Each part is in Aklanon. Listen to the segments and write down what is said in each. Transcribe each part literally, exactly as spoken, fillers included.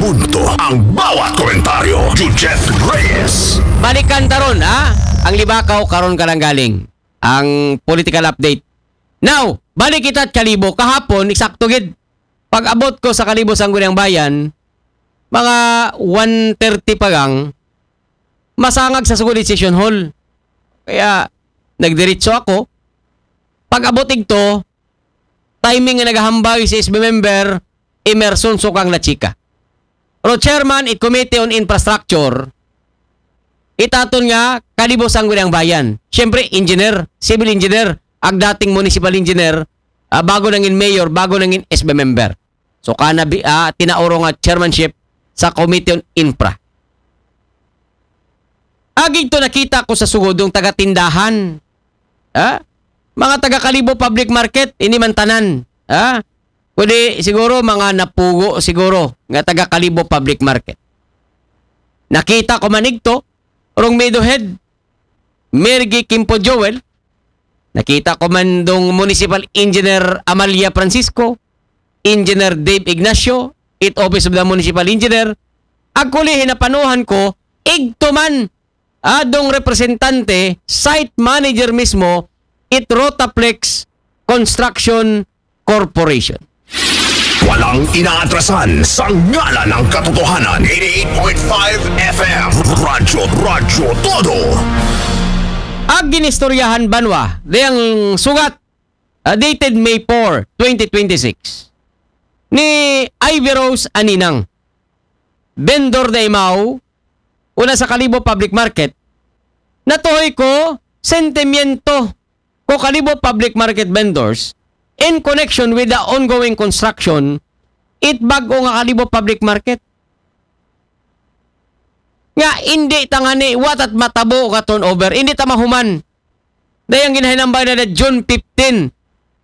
Punto ang bawat komentaryo. Jujet Reyes. Balikan ta ron, ha? Ang Libakaw karon ka lang galing. Ang political update. Now, balik kita at Kalibo. Kahapon, eksakto gid. Pag-abot ko sa Kalibo Sangguniang Bayan, mga one thirty pa gang, masangag sa sugod session hall. Kaya, nagdiretso ako. Pag-abot igto, timing nga nagahambay si S B member Emerson Sukang Lachika. Pero chairman it Committee on Infrastructure, itaton nga Kalibo Sangguniang Bayan. Siyempre, engineer, civil engineer, ag dating municipal engineer, ah, bago nangin mayor, bago nangin S B member. So, kana bi, ah, tinauro nga chairmanship sa Committee on Infra. Agig to nakita ko sa sugod ng taga-tindahan. Ha? Mga taga-Kalibo Public Market, hindi man tanan. Ha? Kundi siguro mga napugo siguro nga taga-Kalibo Public Market. Nakita ko man igto, rong Meadow Head, Mergy Kimpo Joel, nakita ko man dong Municipal Engineer Amalia Francisco, Engineer Dave Ignacio, it Office of the Municipal Engineer, actually hinapanuhan ko, igto man, ah, dong representante, site manager mismo, it Rotaplex Construction Corporation. Walang inaatrasan sa ngalan ng katotohanan. Eighty-eight point five F M. Radyo, Radyo Todo. Ag ginistoryahan banwa, dayang sugat, ah, dated May four, twenty twenty-six, ni Ivy Rose Aninang, vendor da Imao, una sa Kalibo Public Market, natuhoy ko sentimiento ko Kalibo Public Market vendors in connection with the ongoing construction it bag-o nga Kalibo Public Market. Nga, hindi tangani, watat matabo ka turnover, hindi ta mahuman. Dayang ginahinambay na na June fifteen.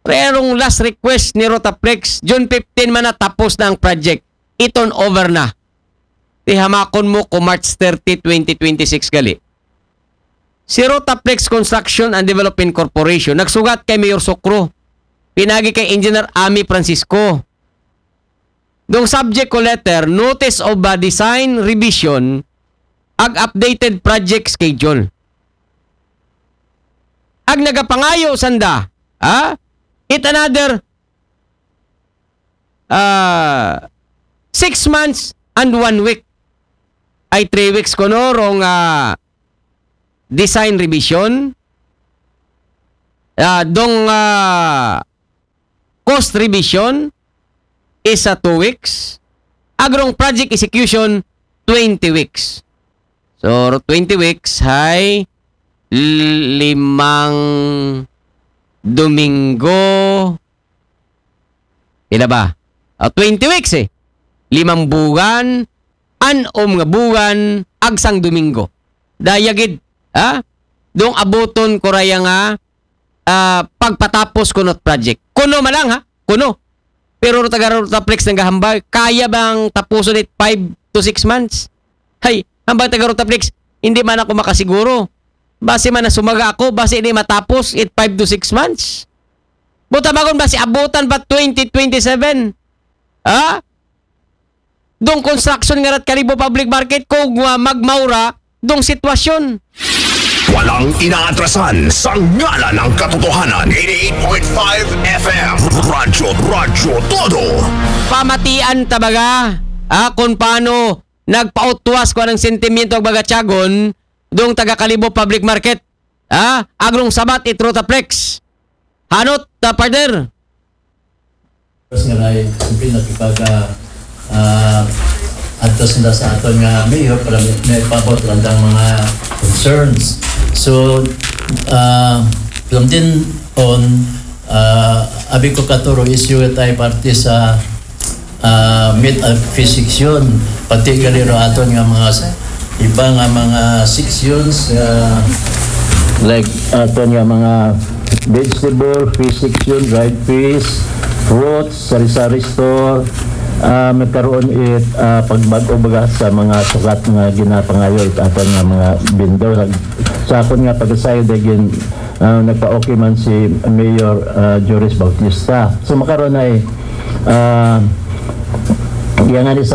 Pero ang last request ni Rotaplex, June fifteen man na tapos na ang project. I-turn over na. Tihamakon mo ko March thirty, twenty twenty-six gali. Si Rotaplex Construction and Development Corporation, nagsugat kay Mayor Sokro. Pinagi kay Engineer Ami Francisco. Dong subject ko letter, notice of a design revision, ag updated project schedule. Ag nagapangayo sanda, ha? It another, ah, six months and one week. Ay three weeks ko no, rong, ah, design revision. Ah, dong, ah, cost revision is a two weeks. Ag rong project execution, twenty weeks. So, twenty weeks, hay limang Domingo. Ila ba? Ah, twenty weeks eh. Limang buwan, anom nga buwan, agsang Domingo. Dayagid, ha? Dong abuton ko raya nga, ah, pagpatapos kunot project. Kuno malang, ha? Kuno. Pero ro taga Rotaplex nagahambay, kaya bang tapuson it five to six months? Hay, hambay taga Rotaplex, hindi man ako makasiguro. Basi man nasumaga ako, basi hindi matapos it five to six months. Buta bagon basi abutan pa twenty twenty-seven. Ha? Dong construction nga rat Kalibo Public Market kung uh, magmaura dong sitwasyon. Walang inaatrasan sa ngalan ng katotohanan. Eighty-eight point five F M. Radyo, Radyo Todo. Pamatian tabaga, ah, kung paano nagpautwas ko ng sentimiento ang baga Tiagon, dong taga Kalibo Public Market. Ah, agrong sabat it Rotaplex. Hanot, ta partner. Tapos nga na, siyempre, nakipag, ah, ah, adtos na sa aton nga mayor para may, may pabot lang ang mga concerns. So, uh, from then on, uh, abi ko katuro issue tayo parte sa uh, meet and phase section. Pati gali ro aton nga mga s- iba nga mga sections, uh, like aton nga mga vegetable, fish section, dried fish, fruits, sari-sari store, ah, magkaroon it ah, pagbag-o baga sa mga sukat nga ginapangayo it aton nga mga bindo. Nag, sa akon nga pagkasayod ay gin, ah, nagpa-okay man si Mayor ah, Joris Bautista. So makaroon ay ah, iya nga ni sa